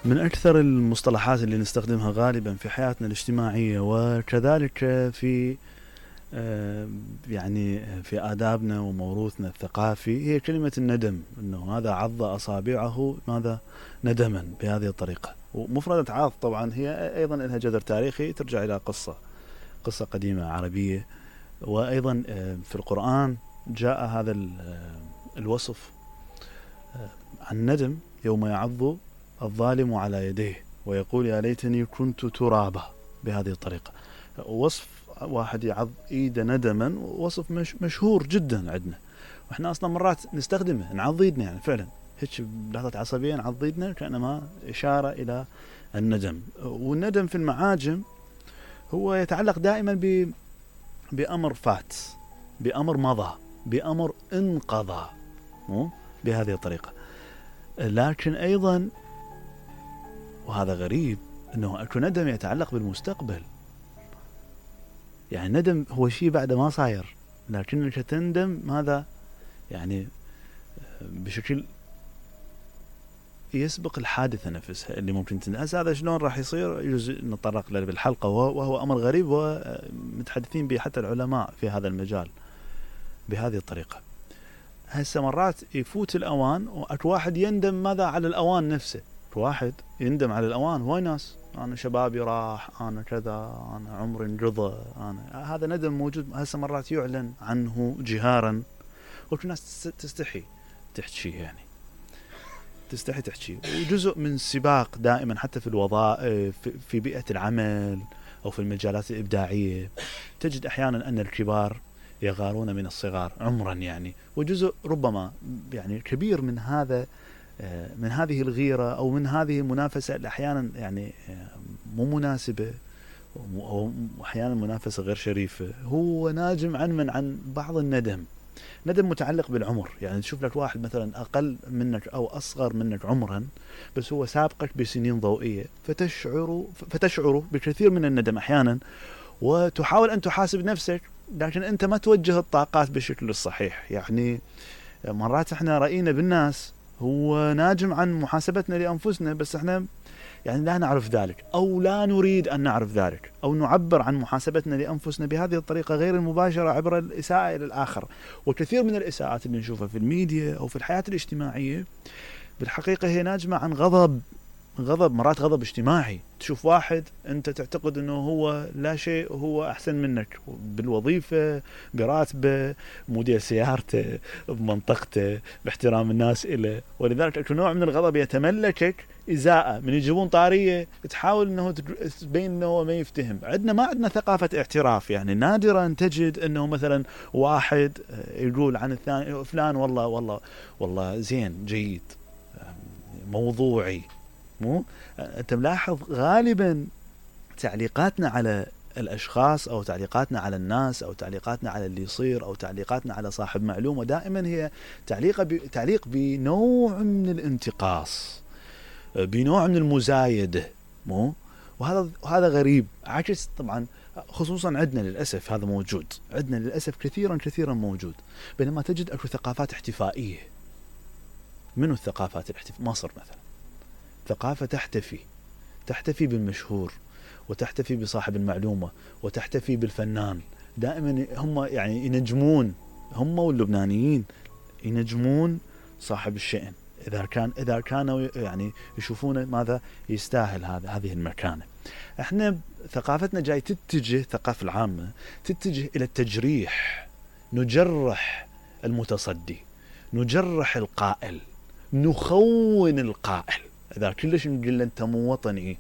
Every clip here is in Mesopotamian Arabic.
من أكثر المصطلحات اللي نستخدمها غالبا في حياتنا الاجتماعية وكذلك في يعني في آدابنا وموروثنا الثقافي هي كلمة الندم، أنه هذا عض أصابعه ماذا ندما بهذه الطريقة. ومفردة عاض طبعا هي أيضا لها جذر تاريخي ترجع إلى قصة قديمة عربية، وأيضا في القرآن جاء هذا الوصف عن الندم يوم يعض الظالم على يديه ويقول يا ليتني كنت ترابا بهذه الطريقة. وصف واحد يعض ايده ندما وصف مشهور جدا عندنا، واحنا اصلا مرات نستخدمه نعض ايدنا، يعني فعلا هيك بلحظة عصبية نعض ايدنا كأنما إشارة إلى الندم. والندم في المعاجم هو يتعلق دائما بأمر فات، بأمر مضى، بأمر انقضى، بهذه الطريقة. لكن أيضا وهذا غريب أنه أكو ندم يتعلق بالمستقبل، يعني ندم هو شيء بعد ما صاير لكنك تندم ماذا يعني بشكل يسبق الحادثة نفسها اللي ممكن تندم. هذا شلون راح يصير يجوز نتطرق له بالحلقة، وهو أمر غريب ومتحدثين به حتى العلماء في هذا المجال بهذه الطريقة. هسه مرات يفوت الأوان وأكو واحد يندم ماذا على الأوان نفسه، واحد يندم على الأوان. هو ناس أنا شبابي راح، أنا كذا، أنا عمري انقضى، أنا هذا ندم موجود. هسه مرات يعلن عنه جهارا وكل الناس تستحي تحكي، يعني تستحي تحكي. وجزء من السباق دائما حتى في الوظائف في بيئة العمل أو في المجالات الإبداعية تجد أحيانا أن الكبار يغارون من الصغار عمرا، يعني وجزء ربما يعني كبير من هذه الغيرة أو من هذه المنافسة اللي أحيانا يعني مو مناسبة أو أحيانا منافسة غير شريفة، هو ناجم عن بعض الندم. ندم متعلق بالعمر، يعني تشوف لك واحد مثلا أقل منك أو أصغر منك عمرا بس هو سابقك بسنين ضوئية، فتشعر بكثير من الندم أحيانا، وتحاول أن تحاسب نفسك لكن أنت ما توجه الطاقات بالشكل الصحيح. يعني مرات احنا رأينا بالناس هو ناجم عن محاسبتنا لأنفسنا بس احنا يعني لا نعرف ذلك أو لا نريد أن نعرف ذلك، أو نعبر عن محاسبتنا لأنفسنا بهذه الطريقة غير المباشرة عبر الإساءة إلى الآخر. وكثير من الإساءات اللي نشوفها في الميديا أو في الحياة الاجتماعية بالحقيقة هي ناجمة عن غضب، مرات غضب اجتماعي. تشوف واحد أنت تعتقد أنه هو لا شيء وهو أحسن منك بالوظيفة، براتبه، موديل سيارته، بمنطقته، باحترام الناس إله، ولذلك أكو نوع من الغضب يتملكك إزاءة من يجيبون طارية تحاول أنه تبين أنه هو ما يفتهم. ما عندنا ثقافة اعتراف، يعني نادرا تجد أنه مثلا واحد يقول عن الثاني فلان والله زين جيد موضوعي. أنت ملاحظ غالبا تعليقاتنا على الأشخاص أو تعليقاتنا على الناس أو تعليقاتنا على اللي يصير أو تعليقاتنا على صاحب معلومة دائما هي تعليق بنوع من الانتقاص، بنوع من المزايدة. وهذا غريب، عكس طبعا خصوصا عندنا للأسف هذا موجود، عندنا للأسف كثيرا موجود. بينما تجد أكو ثقافات احتفائية. منو الثقافات الاحتفائية؟ مصر مثلا ثقافة تحتفي بالمشهور وتحتفي بصاحب المعلومة وتحتفي بالفنان. دائما هم يعني ينجمون، هم واللبنانيين ينجمون صاحب الشأن إذا كانوا يعني يشوفون ماذا يستاهل هذه المكانة. احنا ثقافتنا جاي تتجه، الثقافة العامة تتجه إلى التجريح، نجرح المتصدي، نجرح القائل، نخون القائل. إذا كلش نقول أنت مو وطني،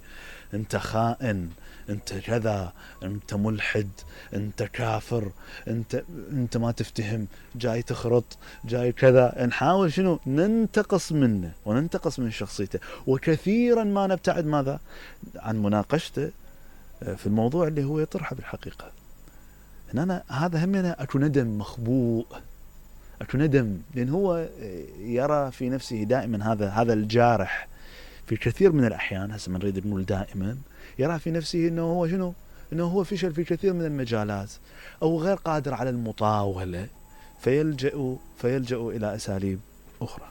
أنت خائن، أنت كذا، أنت ملحد، أنت كافر، أنت ما تفتهم، جاي تخرط، جاي كذا، نحاول شنو ننتقص منه وننتقص من شخصيته. وكثيرا ما نبتعد ماذا عن مناقشته في الموضوع اللي هو يطرحه بالحقيقة. إن هذا همنا أكو ندم مخبوء، أكو ندم لأن هو يرى في نفسه دائما هذا الجارح في كثير من الأحيان. هسه من نريد نقول دائما يرى في نفسه إنه هو شنو، إنه هو فشل في كثير من المجالات أو غير قادر على المطاولة، فيلجأ إلى أساليب أخرى.